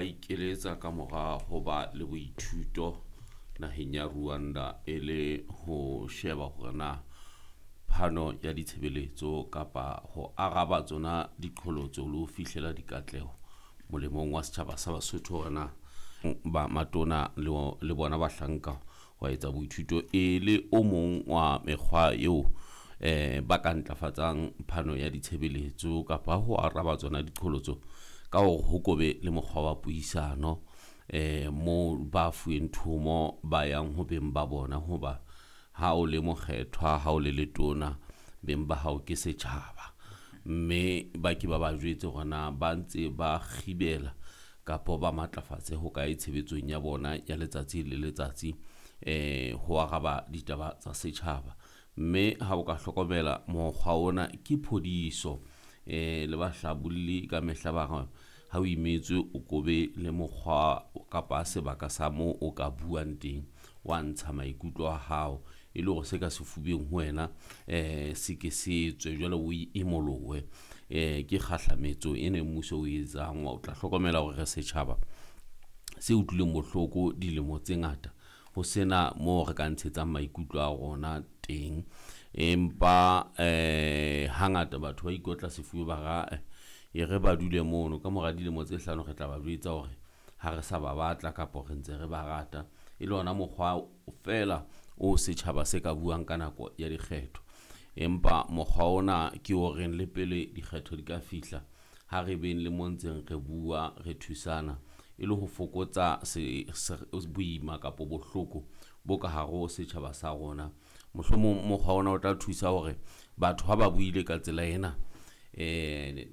ikeletsa ka mora ho ba le boithuto naheng ya Rwanda e le ho sheba hore na phano ya ditshebeletso kapa ho araba tsona diqholotso le ho fihlela dikatleho molemong wa setjhaba sa Basotho, hore na ba matona le bona bahlanka wa etsa boithuto e le o mong wa mekgwa eo ba ka ntlafatsang phano ya ditshebeletso kapa ho araba tsona diqholotso ka hore ho kobe le mokgwa wa puisano moo ba fuweng thomo ba yang ho beng ba bona. Hoba ha o le mokgethwa, ha o le letona, beng ba hao ke setjhaba, mme ba ke ba ba jwetse hore na ba ntse ba kgibela kapa ba matlafatse ho kae tshebetsong ya bona ya letsatsi le letsatsi ho araba ditaba tsa setjhaba. Mme ha o ka hlokomela mokgwa ona ke phodiso, le bahlabolli ka mehla ba re ha o imetswe o kobe le mokgwa kapa sebaka sa moo o ka buang teng, wa ntsha maikutlo a hao e le hore se ka sefubeng ho wena se ke se tswe, jwale o imolohe. Ke kgahlametso e ne mmuso o etsang. O tla hlokomela hore re setjhaba se utlwileng bohloko dilemo tse ngata ho sena moo re ka ntshetsang maikutlo a rona teng, empa hangata batho ba ikotla sefuba ba ra e re ba dule mono ka mora dilemo tse 5 re tla ba jwetsa hore ha re sa ba batla kapa re ntse re ba rata. E le ona mokgwa feela o setjhaba se ka buang ka nako ya dikgetho, empa mokgwa ona ke o reng le pele dikgetho di ka fihla ha re beng le mo ntseng re bua re thusana e le ho fokotsa boima kapa bohloko bo ka hare ho setjhaba sa rona. Mohlomong mokgwa ona o tla thusa hore batho ha ba buile ka tsela ena,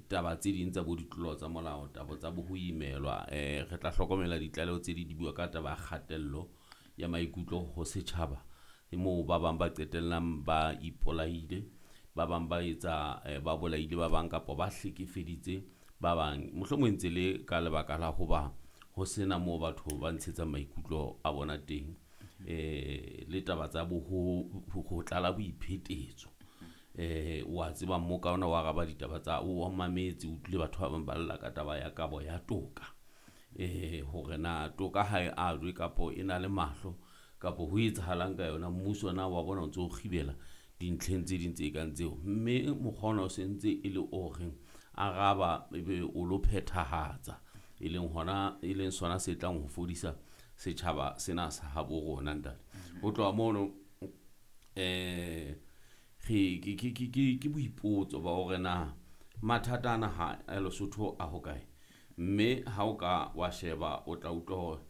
taba tse ding tsa bo ditlolo tsa molao, taba tsa bo ho imelwa, re tla hlokomela ditlaleho tse di bua ka taba ya kgatello ya maikutlo ho setjhaba, moo ba bang ba qetellang ba ipolaile, ba bang ba etsa ba bolaile ba bang kapa ba hlekefeditse ba bang, mohlomong ntse le ka lebaka la hoba ho sena moo batho ba ntshetsang maikutlo a bona teng, le taba tsa bo ho tlala boiphetetso. Wa tseba mmoka ona wa araba ditaba tsa o mametse, o utlwile batho ba bang ba lla ka taba ya kabo ya toka, hore na toka ha e ajwe kapa e na le mahlo kapa ho etsahalang ka yona. Mmuso na wa bona o ntso o kgibela dintlheng tse ding tse kang tseo, mme mokgwa ona o sentse e le o reng araba ebe o lo phethahatsa, e leng hona e leng sona se tlang ho fodisa setjhaba sena sa habo rona ntate. Ho tloha mono re ke boipotso ba hore na mathata ana ha a Lesotho a hokae, mme ha o ka wa sheba o tla utlwa hore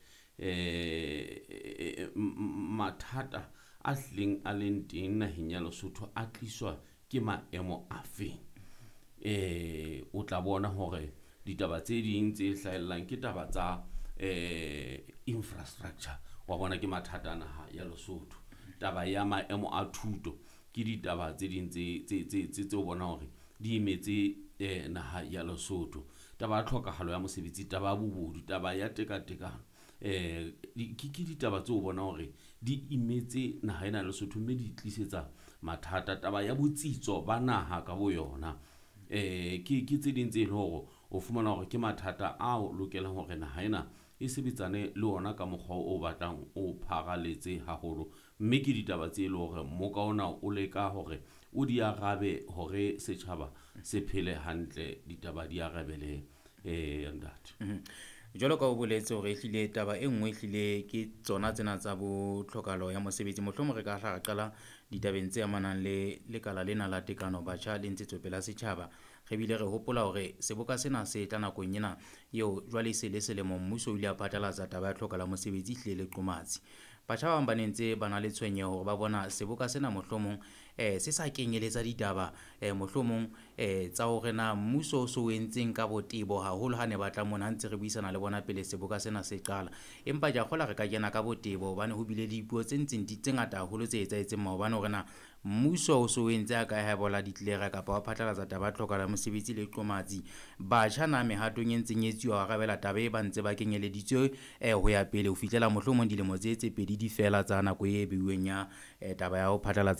mathata a hlileng a leng teng naheng ya Lesotho a tliswa ke maemo a feng. O tla bona hore ditaba tse ding tse hlahellang ke taba tsa infrastructure, wa bona ke mathata a naha ya Lesotho. Taba ya maemo a thuto ke ditaba tse ding tse o bona hore di imetse naha ya Lesotho. Taba ya tlhokahalo ya mosebetsi, taba ya bobodu, taba ya tekatekano, ke ditaba tseo bona hore di imetse naha ena ya Lesotho mme di tlisetsa mathata. Taba ya botsitso ba naha ka boyona, ke tse ding tse leng hore o fumana hore ke mathata ao lokelang hore naha ena e sebetsane le ona ka mokgwa o batlang o pharaletse haholo, mme ke ditaba tse leng hore mmoka ona o leka hore o di arabe hore setjhaba se phele hantle, ditaba di arabele ntate. Jwalo ka o boletse hore ehlile taba e nngwe ehlile ke tsona tsena tsa bo tlhokahalo ya mosebetsi. Mohlomong re ka hla ra qala ditabeng tse amanang le lekala lena la tekano batjha le ntshetsopele ya setjhaba. Re bile re hopola hore seboka sena se tla nakong ena eo jwale e se le selemo mmuso o ile a phatlalatsa taba ya tlhokahalo ya mosebetsi ehlile le qomatsi. Batjha ba bang ba ne ntse ba na le tshwenyeho hore ba bona seboka sena mohlomong se sa kenyeletsa ditaba mohlomong tsa hore na mmuso o so o entseng ka botebo haholo ha ne ba tla mona, ha ntse re buisana le bona pele seboka sena se qala. Empa ke a kgolwa re ka kena ka botebo hobane ho bile le dipuo tse ntseng tse ngata haholo tse etsahetseng maobane hore na mmuso o so o entse a kae ha eba o la declare kapa wa phatlalatsa taba ya tlhokahalo ya mosebetsi le qomatsi. Batjha na mehatong e ntseng e etsuwa ho arabela taba e ba ntse ba kenyeleditswe ho ya pele ho fihlela mohlomong dilemo tse 2 di fela tsa nako e beuweng ya taba ya ho phatlalatsa.